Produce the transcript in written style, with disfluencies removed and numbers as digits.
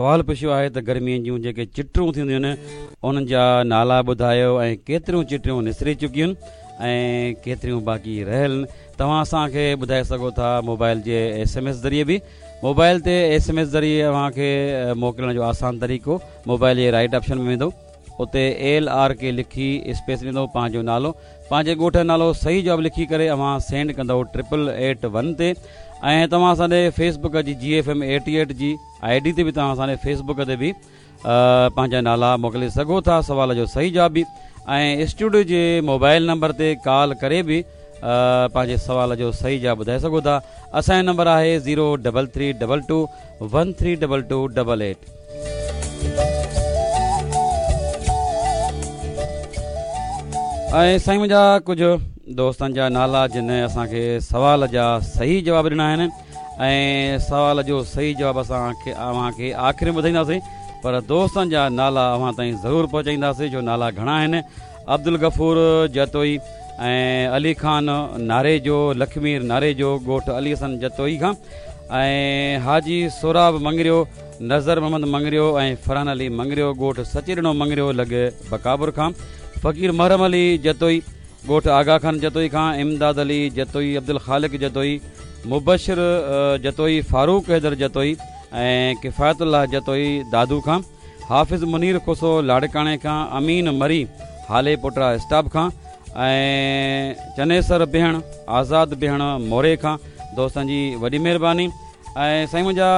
سوال پڇيو آهي ته گرمين جون جيڪي چٽرون ٿينديون آهن انهن جا نالا ٻڌايو ۽ ڪيتريون چٽريون نسري چڪيون آهن ۽ ڪيتريون باقي رهيل آهن توهان اسان کي ٻڌائي سگهو ٿا موبائل جي ايس ايم ايس ذريعي به موبائل تي ايس ايم ايس ذريعي اوهان کي موڪلڻ جو آسان طريقو موبائل جي رائٽ آپشن ۾ ويندو اتي ايل آر ڪي لکي اسپيس ڏيندو پنهنجو نالو پنهنجي ڳوٺ جو نالو صحيح جواب لکي ڪري اوهان سينڊ ڪندو ٽرپل ايٽ ون تي ۽ توهان اسان ڏي فيس بڪ جي جي ايف ايم ايٽي ايٽ جي I D تي به توهان اسان ڏي فيس بڪ تي به پنهنجا نالا موڪلي سگهو ٿا سوال جو صحيح جواب به ۽ اسٽوڊيو جي موبائل نمبر تي ڪال ڪري به پنهنجي سوال جو صحيح جواب ٻڌائي سگهو ٿا اسان جو نمبر آهي zero double three double two one three double two double eight. ۽ سائين منهنجا ڪجهه دوستن جا نالا جن اسان کي سوال جا صحيح جواب ڏنا آهن ۽ سوال جو صحيح جواب اسان کي اوهان کي آخر ۾ ٻڌائينداسين پر دوستن جا نالا اوهان تائين ضرور پهچائينداسين جو نالا گهڻا آهن عبدالغفور جتوئي ۽ علي خان ناريجو لکمير ناريجو ڳوٺ علي حسن جتوئي کان ۽ حاجي سهراب مڱريو نظر محمد مڱريو ۽ فرحان علي مڱريو ڳوٺ سچيڏنو مڱريو لڳ بڪابر کان، فقير محرم علي جتوئي ڳوٺ آغا خان جتوئي کان، امداد علي جتوئي، عبدالخالق جتوئي، مبشر جتوئي، فاروق حيدر جتوئي ۽ ڪفايت الله جتوئي دادو کان، حافظ منير کوسو لاڙڪاڻي کان، امين مري هالي پوٽا اسٽاپ کان ۽ چنيسر بيهڻ، آزاد بيهڻ موري کان دوستن جي وڏي مهرباني ۽ سائين منهنجا.